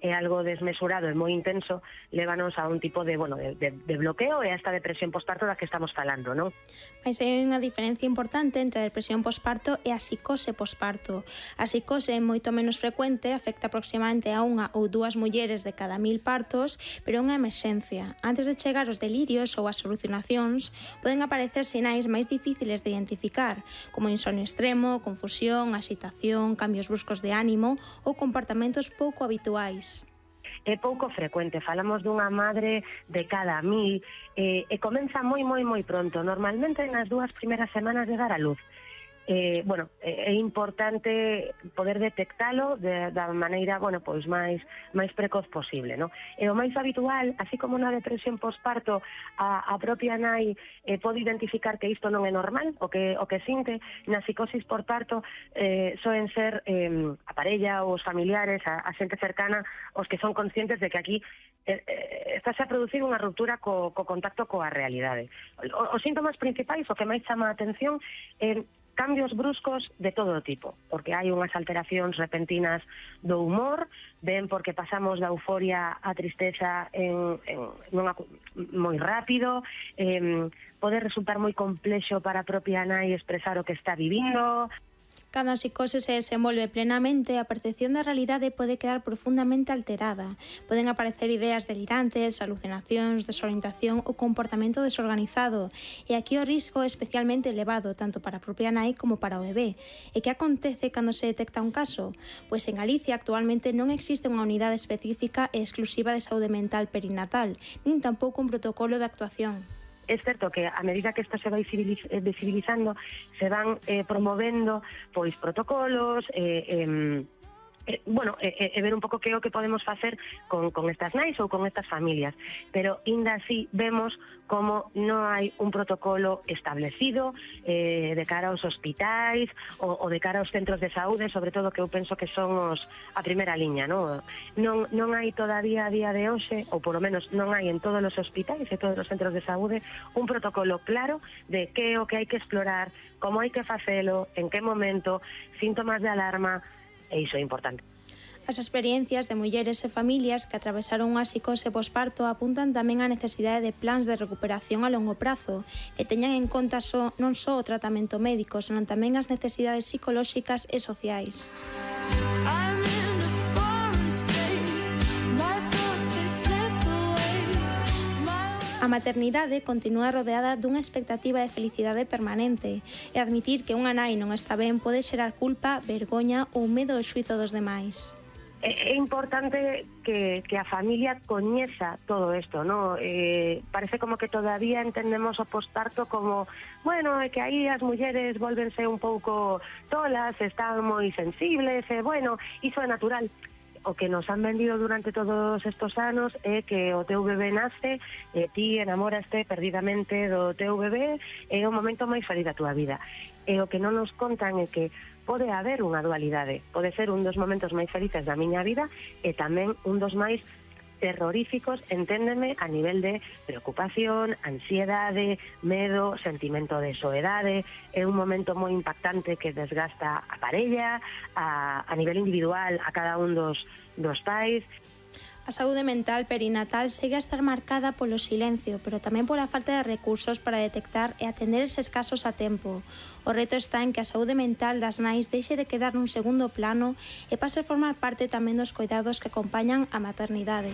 é algo desmesurado e moi intenso, lévanos a un tipo de bloqueo e a esta depresión posparto da que estamos falando, non? Mais hai unha diferencia importante entre a depresión posparto e a psicose posparto. A psicose é moito menos frecuente, afecta aproximadamente a 1 ou 2 mulleres de cada 1000 partos, pero é unha emerxencia. Antes de chegar os delirios ou as alucinacións, poden aparecer sinais máis difíciles de identificar, como insomnio extremo, confusión, axitación, cambios bruscos de ánimo ou comportamentos pouco habituais. É pouco frecuente, falamos dunha madre de cada 1000 e comeza moi pronto, normalmente nas 2 primeiras semanas de dar a luz. É importante poder detectalo da maneira máis precoz posible, non? E o máis habitual, así como na depresión posparto, a propia nai pode identificar que isto non é normal, o que sinte. Na psicosis por parto soen ser a parella ou os familiares, a xente cercana, os que son conscientes de que aquí estáse a producir unha ruptura co contacto coa realidade. Os síntomas principais, o que máis chama a atención, cambios bruscos de todo tipo, porque hai unhas alteracións repentinas do humor, ben porque pasamos da euforia á tristeza moi rápido, pode resultar moi complexo para a propia nai expresar o que está vivindo. Cando a psicose se desenvolve plenamente, a percepción da realidade pode quedar profundamente alterada. Poden aparecer ideas delirantes, alucinacións, desorientación ou comportamento desorganizado. E aquí o risco é especialmente elevado, tanto para a propia nai como para o bebé. E que acontece cando se detecta un caso? Pois en Galicia actualmente non existe unha unidade específica e exclusiva de saúde mental perinatal, nin tampouco un protocolo de actuación. É certo que a medida que isto se vai visibilizando, se van promovendo pois protocolos, ver un pouco que é o que podemos facer con estas nais ou con estas familias, pero ainda así vemos como non hai un protocolo establecido de cara aos hospitais ou de cara aos centros de saúde, sobre todo que eu penso que son a primeira liña, non hai todavía a día de hoxe, ou polo menos non hai en todos os hospitais e todos os centros de saúde, un protocolo claro de que é o que hai que explorar, como hai que facelo, en que momento, síntomas de alarma, e iso é importante. As experiencias de mulleres e familias que atravesaron unha psicose posparto apuntan tamén á necesidade de plans de recuperación a longo prazo que teñan en conta non só o tratamento médico, senón tamén as necesidades psicolóxicas e sociais. A maternidade continúa rodeada dunha expectativa de felicidade permanente e admitir que unha nai non está ben pode xerar culpa, vergoña ou medo ao xuízo dos demais. É importante que a familia coñeza todo isto, non? Parece como que todavía entendemos o posparto como, é que aí as mulleres volvense un pouco tolas, están moi sensibles, iso é natural. O que nos han vendido durante todos estos anos é que o teu bebé nace e ti enamoraste perdidamente do teu bebé, é o momento máis feliz da tua vida. E o que non nos contan é que pode haber unha dualidade, pode ser un dos momentos máis felices da miña vida e tamén un dos máis terroríficos, enténdeme, a nivel de preocupación, ansiedade, medo, sentimento de soedade. É un momento moi impactante que desgasta a parella, a nivel individual, a cada un dos pais. A saúde mental perinatal segue a estar marcada polo silencio, pero tamén pola falta de recursos para detectar e atender eses casos a tempo. O reto está en que a saúde mental das nais deixe de quedar nun segundo plano e pase a formar parte tamén dos coidados que acompañan a maternidade.